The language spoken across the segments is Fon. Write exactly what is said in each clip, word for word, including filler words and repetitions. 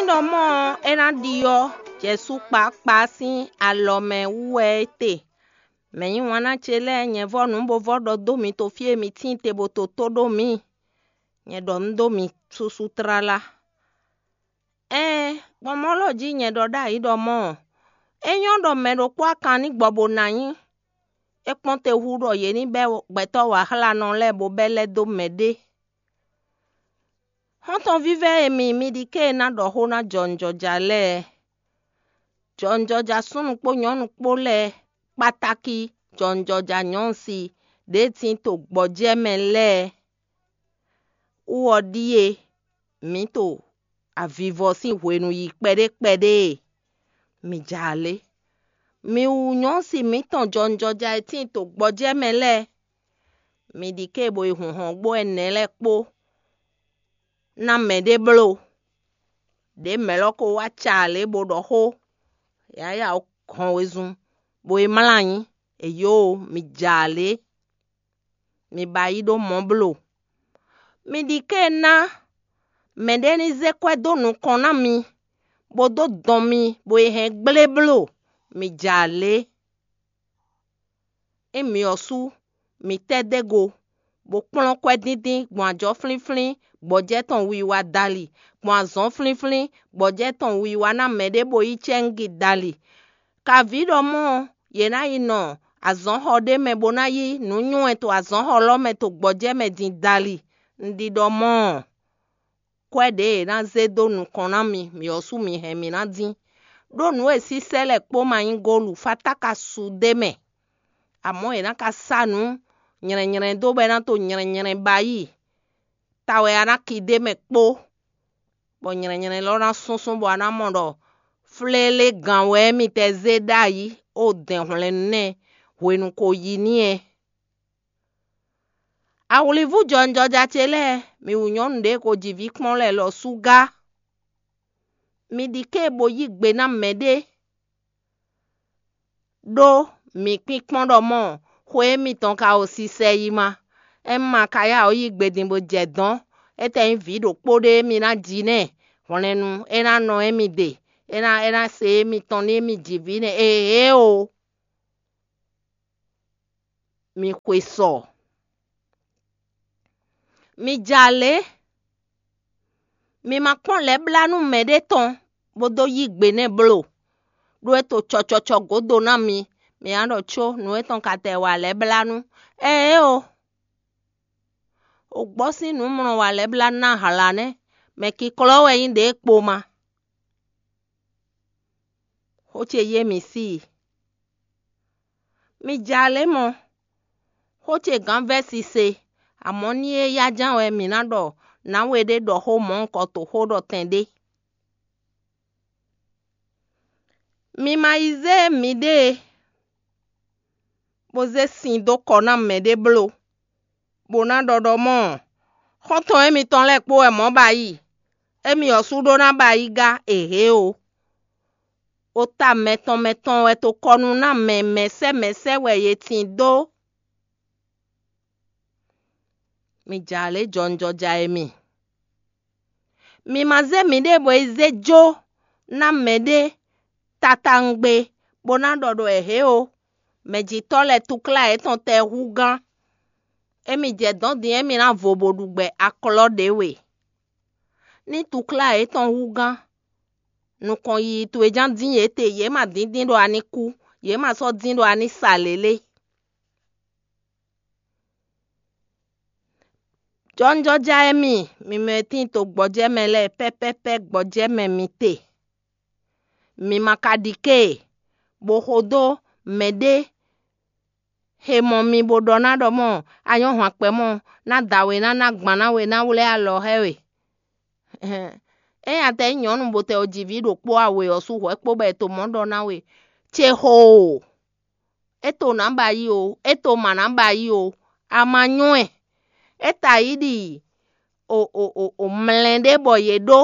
Ɖɔ mɔ̌ ɔ́, é ná ɖi ɔ́, Jɛsu kpákpá sín alɔ mɛ wú wɛ é te. Mɛ̌ yí wǎn ná ce lɛ́ɛ, nyɛ vɔ́ nǔ bo vɔ́ ɖɔ dó mi to fí e mi tíin te bo to tó ɖó mǐ. Nyɛ ɖɔ nǔ dó mi súsú tlala. Ɛɛn, gbɔn mɔ̌ lɔ jí nyɛ ɖɔ ɖ'ayǐ ɖɔ mɔ̌ ɔ́, é nyɔ́ ɖɔ mɛ ɖokpó akan ní gbɔ bo ná nyí. É kpɔ́n te hú ɖɔ yě ní bɛ́ gbɛtɔ́ wǎxlánɔ lɛ́ɛ bo bɛ́ lɛ́ dó mɛɖé. Xɔ́ntɔn vívɛ́ e mi, mi ɖi ké e ná ɖɔ xó ná jɔwunjɔja lɛ́ɛ. Jɔwunjɔja súnnu kpó nyɔ̌nu kpó lɛ́ɛ, kpátákí jɔwunjɔja nyɔ̌nu si ɖě tíin to gbɔjɛ́ mɛ lɛ́ɛ wú ɔ́ ɖíe: mǐ to avivɔ sín hwenu yi kpɛɖé kpɛɖé e, mi ja alě. Mi wǔ nyɔ̌si mǐtɔn jɔwunjɔja e tíin to gbɔjɛ́ mɛ lɛ́ɛ, mi ɖi ké bo yi hun hɔngbó ɛnɛ lɛ́ɛ kpó ná mɛɖé bló. Ɖě mɛ̌ lɔ ko wá ca alě bo ɖɔ xó, yǎyá hɔn wezun, bó yi mlá anyi. Eyǒo, mi ja alě, mi ba yí ɖó mɔ̌ bló. Mi ɖi ké ná mɛɖé ní zé kwɛ́ dó nukɔn ná mi, bó dó dɔn mi, bó yi hɛn gblé bló. Mi ja alě. Ényí mi ɔ́ sú, mi tɛ́ dó go, bó kplɔ́n kwɛ́díndín gbɔn ajɔ̌ flínflín gbɔjɛ́ tɔn wiwa dali, gbɔn azɔ̌ flínflín gbɔjɛ́ tɔn wiwa ná mɛɖé bó yí cɛ́ngi dali. Kaví ɖɔ mɔ̌ ɔ́, yě ná yi nɔ azɔ̌xɔ ɖé mɛ bó ná yí nǔ nywɛ́ to azɔ̌xɔ lɔ́ mɛ to gbɔjɛ́ mɛ din dali. Un ɖi ɖɔ mɔ̌ ɔ́, kwɛ́ ɖě è nǎ zé dó nukɔn ná mi, mǐ ɔ́ sú mi hɛn mǐ ná dín. Ɖó nǔ e sísɛ́ lɛ́ɛ kpó ma nyí gólu, fatáka su d'é mɛ. Amɔ̌ è nǎ ka sá nǔ nylɛnylɛn dó bɔ é ná to nylɛnylɛn ba yí. Ta wɛ a nǎ ki d'é mɛ kpó, bɔ nylɛnylɛn lɔ ná súnsún bɔ a ná mɔ ɖɔ flélé gan wɛ mitɛ́ zé ɖ'ayǐ ó dɛn hwlɛ́nnu nɛ́ hwenu ko yi n'i é. Awlivú jɔwunjɔja ce lɛ́ɛ, mi wǔ nyɔ́nu ɖě ko ji vǐ kpɔ́n lɛ́ɛ lɔ sú gá. Mi ɖi ké bo yí gbe ná mɛɖé, ɖó mi kpínkpɔ́n ɖɔ mɔ̌ xwe émítɔn ka o sisɛ yi ma. Ényí ma ka yá ɔ́ yí gbe din bó jɛ dɔ̌n, étɛ́ nyí vǐ ɖokpó ɖé mi ná ji nɛ́, hwlɛ́nnu é ná nɔ émí ɖe, é ná é ná se émítɔn nú émí ji vǐ nɛ́. Ehe o. Mi xwe sɔ. Mi ja lě, mi ma kpɔ́n lɛ̌ blá nú mɛɖé tɔn bó dó yí gbe nɛ́ bló, ɖó é to cɔcɔcɔ gǒdo ná mi, mi ná ɖɔ có nǔ étɔn ka tɛ wa lɛ̌ blá nú. Ɛɛ o, o gbɔ sín nǔ mlɔ wa lɛ̌ blá ná hlǎ nɛ́, mɛ kiklɔ́ wɛ nyí ɖě kpo ma. Xó ce yé mǐ sí i. Mi ja lě mɔ, xó ce gǎn vɛ́ sise, amɔ̌ ní é yá ján wɛ mǐ ná ɖɔ nǎwe ɖé ɖɔ xó mɔ̌hunkɔtɔn xó ɖɔ tɛn ɖé. Mi ma yi zé miɖée, bó zé sin dó kɔ ná mɛɖé bló, bó ná ɖɔ ɖɔ mɔ̌, xɔ́ntɔn émitɔn lɛ́ɛ kpó wɛ mɔ̌ ba yi, émí ɔ́ sú ɖó ná ba yi gá, ehe o. Ota mɛtɔn mɛtɔn wɛ to kɔ nú ná mɛ mɛ̌sɛ́ mɛ̌sɛ́ wɛ yě tín dó. Mi ja lě jɔwunjɔja e mi. Mi ma zé miɖée bɔ yi zé jó ná mɛɖé tatawungbe, bó ná ɖɔ ɖɔ ehe o. Mɛjitɔ́ lɛ́ɛ tukla yětɔn tɛ hú gán. Émi jɛ dɔ̌n din émi ná vo bo ɖu gbɛ aklɔ́ ɖě we. Ní tukla yětɔn hú gán, nukɔn yiyi towe ján dín yě te, yě ma dín dín ɖɔ a ní kú, yě ma sɔ́ dín ɖɔ a ní sa lě lé. Jɔwunjɔja e mi, mi mɛ e tíin to gbɔjɛ́ mɛ lɛ́ɛ pɛ́pɛ́pɛ́ gbɔjɛ́ mɛ mi te. Mi ma ka ɖi ké e, bó xo dó mɛɖé he mɔ mi bó ɖɔ ná ɖɔ mɔ̌, a nyɔ́ hwan kpɛ mɔ̌, ná da we ná ná gban ná we ná wlɛ́ alɔ xá we. Ényí a tɛ nyí nyɔ̌nu bo tɛ o ji vǐ ɖokpó a we ɔ́ sú hwɛ̌ kpó bɔ è to mɔ̌ ɖɔ ná we, ce xo o, é to nǎ ba yí o, é to ma nǎ ba yí o, a ma nyɔ́ ɛ. É ta yí ɖi o o o o mlɛ́ ɖé bɔ yě ɖó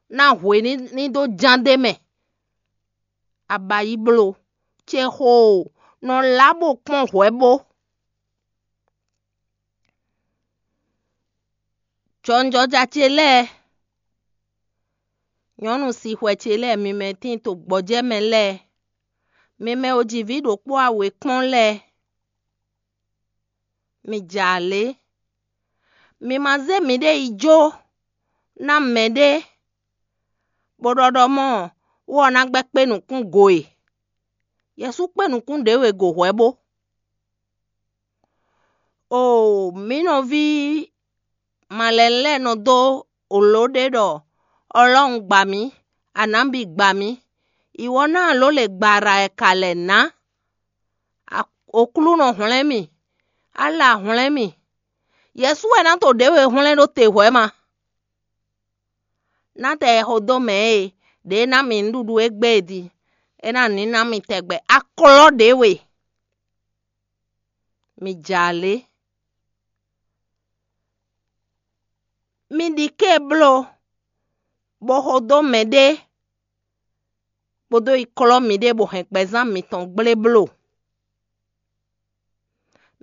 ná hwe ní ní dó ján d'é mɛ. A ba yí bló, ce xo o, nɔ lá bó kpɔ́n hwɛ̌ bó. Jɔwunjɔja ce lɛ́ɛ, Nyɔ̌nu sixwɛ ce lɛ́ɛ, mi mɛ tíin to gbɔjɛ́ mɛ lɛ́ɛ, mi mɛ e ji vǐ ɖokpó a wě kpɔ́n lɛ́ɛ, mi jɛ alě. Mi ma zé miɖée yi jó ná mɛɖé, bó ɖɔ ɖɔ mɔ̌ wú ɔ́ ná gbɛ́ kpé nukún go e. Yɛsu kpé nukún ɖě we go hwɛ̌ bó. Oo, mǐ nɔví malɛnu lɛ́ɛ nɔ dó wlǒ ɖé ɖɔ Ɔlɔ́un gba mǐ, Anǎbi gba mǐ, ìwɔ ná alǒ lě gba Rayɛkalɛ ná. Oklúnɔ hwlɛ́n mì, Ala hwlɛ́n mì. Yɛsu wɛ ná to ɖěwe hwlɛ́n ɖó te hwɛ̌ ma. Ná tɛ xo dó mɛ e ɖě ná mi nǔɖuɖu égbé e din, é ná ní ná mi tɛgbɛ aklɔ́ ɖě we. Mi jɛ alě. Mi ɖi ké bló, bó xo dó mɛɖé, bó dó yi klɔ́ miɖée bó hɛn gbɛzán mitɔn gblé bló.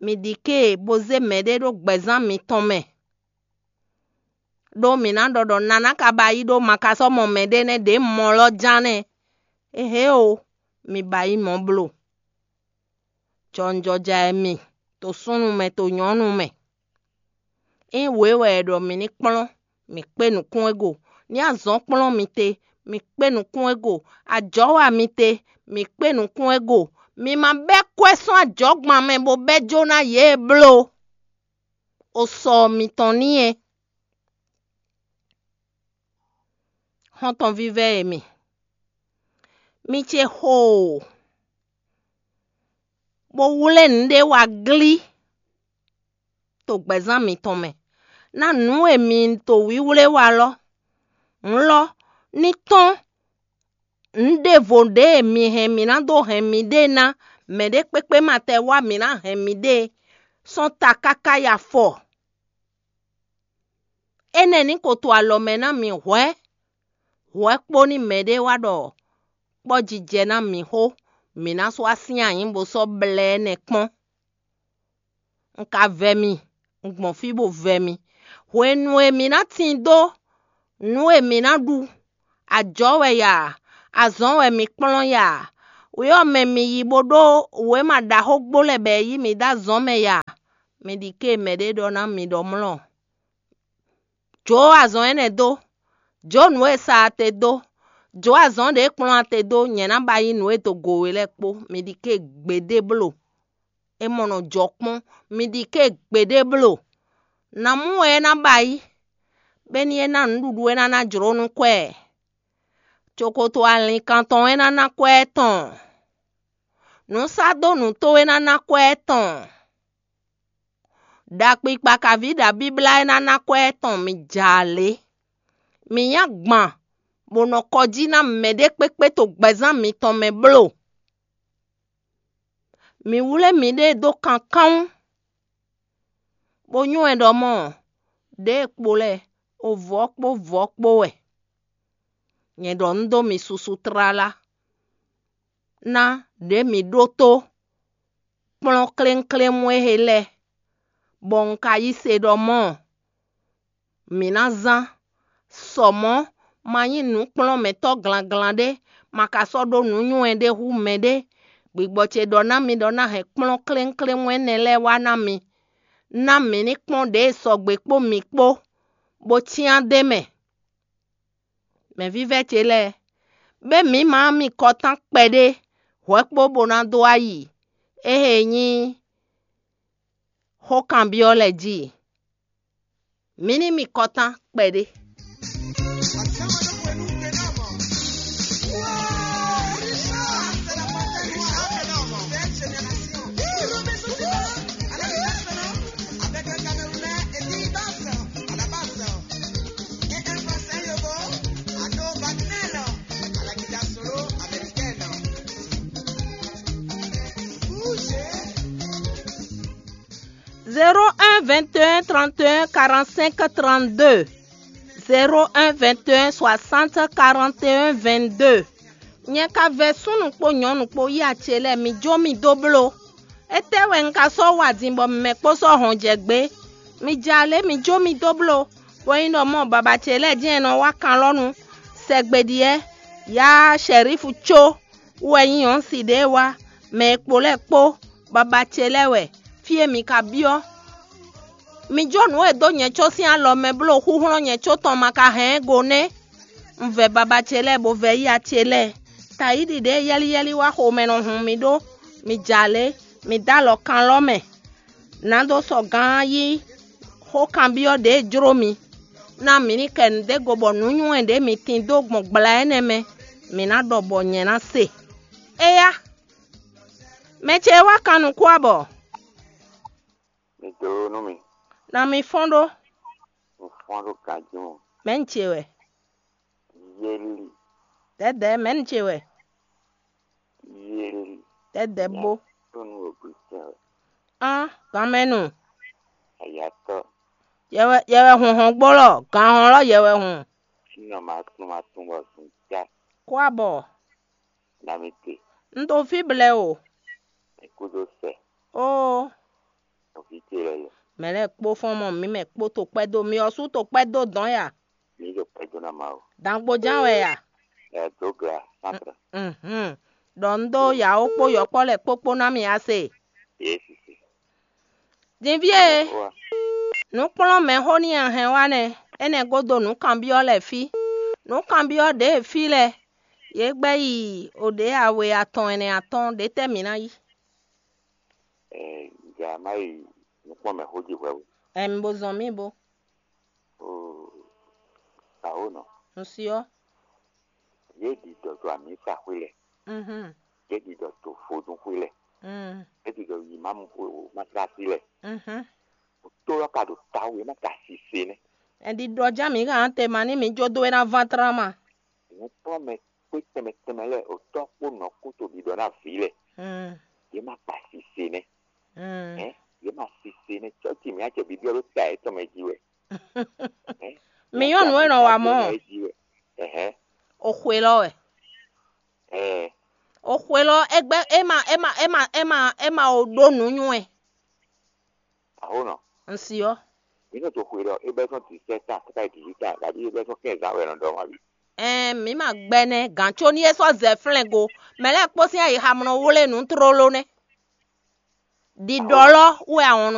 Mi ɖi ké bó zé mɛɖé ɖó gbɛzán mitɔn mɛ, ɖó mǐ ná ɖɔ ɖɔ naná ka ba yí ɖó ma ka sɔ́ mɔ mɛɖé nɛ́ ɖě mɔ lɔ ján nɛ́. Éhé o, mi ba yí mɔ̌ bló. Jɔwunjɔja wɛ mi, to súnnu mɛ, to nyɔ̌nu mɛ. Ényí wě wɛ è ɖɔ mǐ ní kplɔ́n, mǐ kpé nukún e go. Ní azɔ̌ kplɔ́n mi te, mǐ kpé nukún e go. Ajɔ̌ wa mi te, mǐ kpé nukún e go. Mi ma bɛ́ kwɛ́ sɔ́ ajɔ̌gban mɛ bó bɛ́ jó ná yě e bló o sɔ mitɔn n'i é. Xɔ́ntɔn vívɛ́ e mi, mi ce xoo, bó wlé nǔɖé wá glí to gbɛ̌zán mitɔn mɛ, ná nǔ e mi to wíwlé wá lɔ. Hǔn lɔ, ní tɔ́n nǔ ɖěvo ɖě e mi hɛn mǐ ná dó hɛn miɖée ná mɛɖé kpékpé ma tɛ wá mǐ ná hɛn miɖée sɔ́ ta káká yi afɔ. Énɛ́ ní ko to alɔ mɛ ná mi hwɛ̌, hwɛ̌ kpó ní mɛɖé wá ɖɔ kpɔ́jijɛ ná mi xó, mǐ ná sɔ́ wá sín anyǐ bó sɔ́ blɛ́ ɛnɛ kpɔ́n. Un ka vɛ mi, un gbɔn fí bó vɛ mi. Hwenu e mǐ ná tin dó nǔ e mǐ ná ɖu, ajɔ̌ wɛ ya, azɔ̌ wɛ mi kplɔ́n ya, wě ɔ́ mɛ mi yi bó ɖó wěma ɖaxó gbo lɛ́ɛ bɔ è yí mi dó azɔ̌ mɛ ya, mi ɖi ké mɛɖé ɖɔ ná mi ɖɔ mlɔ́. Jǒ azɔn énɛ́ dó, jǒ nǔ e sa a te dó, jǒ azɔn ɖě e kplɔ́n a te dó, nyɛ̌ ná ba yí nǔ e dó go we lɛ́ɛ kpó. Mi ɖi ké gbeɖé bló. É mɔ nɔ jɔ kpɔ́n, mi ɖi ké gbeɖé bló. Nǎ mú wɛ é ná ba yí, bɔ é ní é ná nǔɖuɖu e ná ná jlǒ nú kwɛ. Cokoto alinkantɔn e ná ná kwɛ tɔn. Nǔsádónǔ towe ná ná kwɛ tɔn. Ɖakpikpa kaví ɖabíblá e ná ná kwɛ tɔn mi jɛ alě. Mi nyí agban, bó nɔ kɔ jí ná mɛɖé kpékpé to gbɛzán mitɔn mɛ bló. Mi wlé miɖée dó kankánwún, bó nywɛ́ ɖɔ mɔ̌, ɖěe kpo lɛ́ɛ, ovɔ̌ kpó vɔ̌ kpó wɛ. Nyɛ ɖɔ un dó mi susu tlala ná ɖě mi ɖótó kplɔ́n klénklémú e he lɛ́ɛ, bɔ un ka yí se ɖɔ mɔ̌, mǐ ná zán. Sɔ mɔ̌, ma nyí nǔkplɔ́nmɛtɔ́ glanglan ɖé, ma ka sɔ́ ɖó nǔnywɛ́ ɖé hú mɛɖé. Gbigbɔ ce ɖɔ ná mi ɖɔ ná hɛn kplɔ́n klénklémú énɛ́ lɛ́ɛ wá ná mi, ná mǐ ní kpɔ́n ɖěe sɔgbe kpó mi kpó, bó cyán d'é mɛ. Mɛ̌vívɛ́ ce lɛ́ɛ, bɛ́ mǐ ma mi kɔtán kpɛɖé hwɛ̌ kpó bó ná dó ayi éhe nyí xó kanbyɔ́ lɛ́ɛ jí. Mǐ ní mi kɔtán kpɛɖé. Zéro un vingt et un trente et un quarante-cinq trente-deux, zéro un vingt et un soixante quarante et un vingt-deux. Nyɛ ka vɛ súnnu kpó nyɔ̌nu kpó yí acɛ lɛ́ɛ, mi jó mi dó bló. Étɛ́ wɛ un ka sɔ́ wa din bɔ mɛ kpó sɔ́ hɔn jɛ gbé? Mi jɛ alě, mi jó mi dó bló, bó nyí ɖɔ mɔ baba ce lɛ́ɛ jɛ́n è nɔ wá kan lɔ́ nu. Sɛgbe ɖíe, yá Shɛrífu có wú wɛ nyí nyɔ̌nu si ɖě wá, mɛ e kpo lɛ́ɛ kpó, baba ce lɛ́ɛ wɛ, fí e mi ka byɔ́. Mi jó nǔ e dó nyɛ có sín alɔ mɛ bló xúxlɔ́n nyɛ có tɔn ma ka hɛn ɛ go nɛ́. Un vɛ baba ce lɛ́ɛ bó vɛ yíya ce lɛ́ɛ. Tayíɖi ɖě yɛ́líyɛ́lí wá xomɛ nɔ hun mi ɖó, mi jɛ alě, mi dó alɔ kan lɔ́ mɛ. Nǎ dó sɔgán yí xó kanbyɔ́ ɖě jló mi, ná mǐ ní kɛ nǔɖé go bɔ nǔnywɛ́ ɖě mi tin dó gbɔn gbla énɛ́ mɛ, mǐ ná ɖɔ bɔ nyɛ ná se. Éyá, mɛ ce e wá kan nukún abɔ? Mi dó nú mi. Na mi fɔ́n ɖó. Un fɔ́n ɖó ganjí mɔ. Mɛ̌ un ce wɛ? Yéli. Dɛ̌dɛ̌, mɛ̌ un ce wɛ? Yéli. Dɛ̌dɛ̌ bó. Tó nú òbí tɛn wɛ. Án, ganmɛnu. Ayatɔ. Yɛ wɛ yɛ wɛ hun hɔn gbólɔ, gan hɔn lɔ yɛ wɛ hun. Sínɔ ma tún ma tún bɔ zun já. Kó abɔ. Na mi te. Un ɖo fí blɛ́ o. Mi kúdó sɛ. Óo. Nɔví ce lɛ́ɛ lɛ. Mɛ lɛ́ɛ kpó fɔ́n mɔ mǐ mɛ kpó to kpɛ́ dó mi ɔ́ sú to kpɛ́ dó dɔ̌n ya. Mi ɖo kpɛ́ dó ná ma o. Dǎngboján wɛ ya. Ɛ dó gla sántrɛ. Mhm. Ɖɔ un ɖó yǎwó kpó yɔkpɔ́ lɛ́ɛ kpókpó ná mi a se. Yě sisi. Dinví e, Wa. Nǔkplɔ́nmɛxó ní a hɛn wá nɛ́, énɛ́ gúdo nǔ kanbyɔ́ lɛ́ɛ fí. Nǔ kanbyɔ́ ɖě e fí lɛ́ɛ, yě gbɛ́ yi o ɖě awe atɔn ɛnɛ atɔn ɖě tɛ́ mǐ ná yí? Ɛ, nja má yi nukpɔ́nmɛxó jí hwɛ̌ o. Ɛm, bó zɔn mì bó. Oo, awǒ nɔ. Un si ɔ́. Yě ɖi dɔ to amǐsa xwé lɛ. Mhm. Yě ɖi dɔ to vodún xwé lɛ. Mm. Yě ɖi dɔ yi mamu xwé o matlasi lɛ. Mhm. Tó lɔ ka ɖo tawu yě má ka sise nɛ. Ɛn ɖi ɖɔ ján mǐ hán te ma ní mǐ jó dó é ná ván tlán ma. Nukplɔ́nmɛ kpé tɛnmɛ tɛnmɛ lɛ́ɛ, otɔ́ kpó nɔ kpó to ɖiɖɔ ná vǐ lɛ. Mm. Yě má kpa sise nɛ́. Mm. Hɛn, yě má sise nɛ́. Cɔ́ci mǐ acɛ bibyɔ́ ɖó ta yětɔn mɛ jí wɛ. Hɛn, Mǐ nyɔ́ nǔ e nɔ wa mɔ̌. Jí wɛ. Ɛhɛn. O xwe lɔ wɛ. Ɛɛ. O xwe lɔ, é gbɛ́ é ma é ma é ma é ma é ma o ɖó nǔ nywɛ́. Aho nɔ. Un si ɔ́. Mǐ nɔ to xwe ɖɔ é bɛ́ sɔ́ disɛt ta káká yi dix-huit ta, kabi é bɛ́ sɔ́ quinze ta wɛ nɔ ɖɔ ma bi. Ɛn mǐ ma gbɛ nɛ́ gǎn có ní é sɔ́ zɛ flɛ́n go. Mɛ lɛ́ɛ kpó sín ayixa mɔ nɔ wlé nǔ tlóló nɛ́. Ɖiɖɔ lɔ wɛ ahɔn